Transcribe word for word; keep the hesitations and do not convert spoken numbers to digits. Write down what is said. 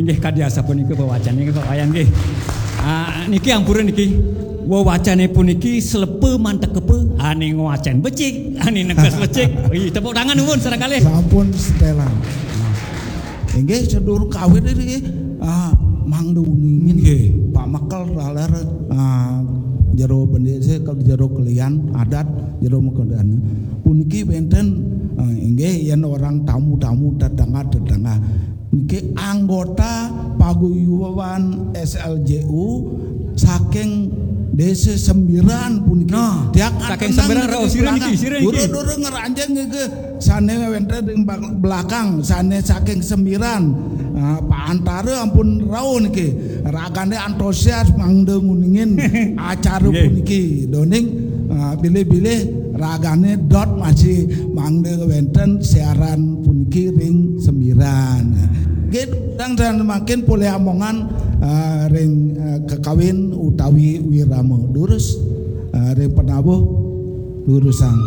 Nggih, kadi asapunika wewacane, Pak Wayan, nggih. Ah, niki ampura niki. Wewacane puniki slepe mantekepe, ane ngwacen becik, ane nekes becik. Ih, tepuk tangan nuwun sareng kalih. Sampun setelan. Inggih, sedurung kawit niki, ah, mangda uningin. Nggih. Pak Mekel raler, ah, jero bendese, jero kelian adat, jero mekodan. Puniki wenten, ah, inggih, yen orang tamu-tamu, tetangga-tetangga. Niki anggota paguyuban S L J U saking Desa Sembiran puniki. Nah, tiang saking atenang Sembiran, niki rauh, sira belakang. Niki, sira niki. Dura-dura ngeranjing niki sane wenten ring bak-, belakang, sane saking Sembiran. Ah, Pak Antara ampun rauh niki. Ragane antusias mangda nguningin acara nggih. Puniki. Doning, ah, bilih-bilih ragane dot masih mangda wenten siaran puniki ring Sembiran. Nggih, dan, dan makin polih amongan, ah, ring, ah, kekawin utawi wirama. Durus, ah, ring penabuh, durusang.